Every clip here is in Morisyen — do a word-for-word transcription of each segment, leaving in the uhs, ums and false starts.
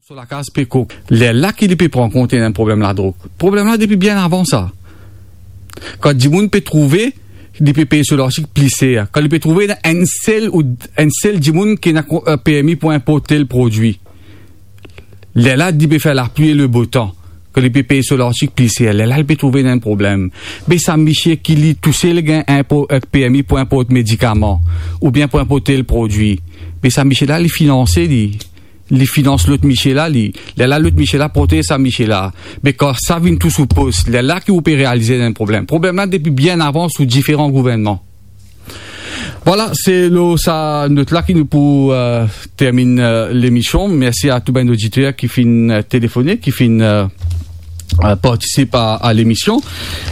So lakaz pe kok. Lerla ki li pe pran kont ena problem ladrog. Problem la depi bien avan sa. Kan dimoun pe trouve, li pe pey so lartik pli ser. Kan li pe trouve ena enn sel ou enn sel dimoun ki ena ko-, eh, permi pou inport tel prodwi. Lerla li pe fer lapli e le bo tan. Kan li pe pey so lartik pli ser. Lerla li pe trouve ena enn problem. Be sa misie ki li tousel gagn inpo-, eh, permi pou inport medikaman, oubien pou inport tel prodwi. Be sa misie la, li finanse li. Li finans lot misie la, li. Lerla lot misie la protez sa misie la. Me kan sa vinn tou sou pos, lerla ki ou pe realize ena enn problem. Problem la depi bien avan sou diferan gouvernman. Vwala, se lor sa not la ki nou pou, eh, terminn, eh, lemision. Mersi a tou bann oditer ki finn, eh, telefone, ki finn, eh, eh, partisip a, a lemision.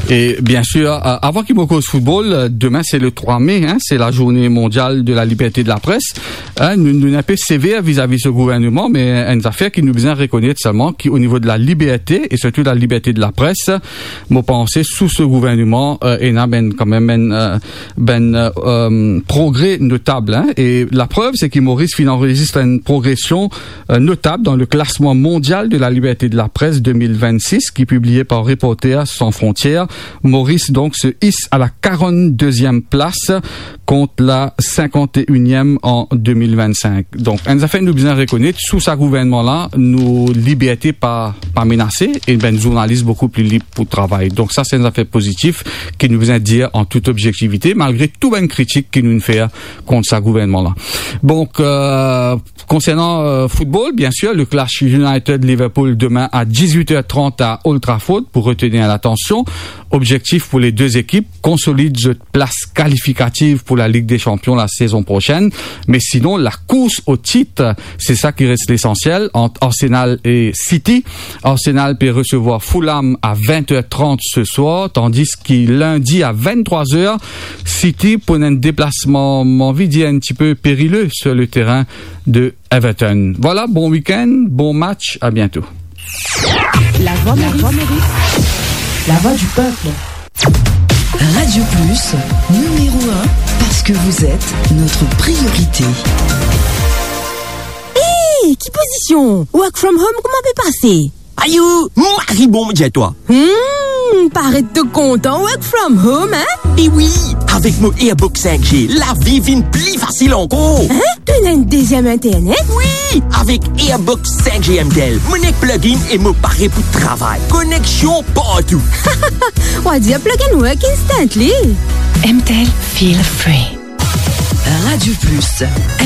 E bien sir, eh, avan ki mo koz foutbol, eh, demin se le trwa me, hein, se la journée mondiale de la liberté de la presse. Hein, nou, nou enn pe sever vizavi so gouvernman, me enn zafer ki nou bizin rekonet selman ki o nivo de la liberte, e sirtou la liberte de la pres, mo panse sou so gouvernman, eh, ena bann, kanmem bann, eh, bann, eh, eh, progre notab, hein. E laprev, se ki Moris finn anrezistre enn progresion, eh, notab dan le klasman mondial de la liberte de la pres de mil vennsis, ki pibliye par Reporters sans frontières. Moris, donk, se is a la karanndezièm plas kont la sinkant-e-iniem an de mil vennsink. Donk, enn zafer nou bizin rekonet, sou sa gouvernman la, nou liberte pa, pa menase, e bann zournalis boukou pli lib pou travay. Donk, sa se enn zafer pozitif ki nou bizin dir an tout objektivite, malgre tou bann kritik ki nou fer kont sa gouvernman la. Donk, eh, konsernan, eh, foutbol, bien sir, le clash United-Liverpool demin a dizwit er trant a Old Trafford pou retenir latansion. Objektif pou le de ekip, konsolid zot plas kalifikativ pou la Ligue des Champions la sezon prosenn. Me sinon, la kours o tit, se sa ki res lesansiel ant Arsenal e City. Arsenal pe resevwar Fulham a vint er trant se swar, tandis ki lindi a vinn-trwa er, City pou enn deplasman, mo anvi dir, enn tipe perile sur le terrain de Everton. Vwala, bon week-end, bon match, à bientôt. La Voix Maurice. La voix du peuple. Radio Plus, numéro un, parce que vous êtes notre priorité. Hey, ki pozision? Work from home, kouma pe pase? Ayo, mari bon, mo dir twa. Hmm, paret to kontan work from home, hein? E wi, avek mo Airbox sink G, lavi vinn pli fasil ankor. Hein? To ena enn deziem internet? Wi, avek Airbox sink G M T L, mo nek plug-in e mo pare pou travay. Koneksion partou. Ou a dir plug-in work instantly. M T L, feel free. Radio Plus.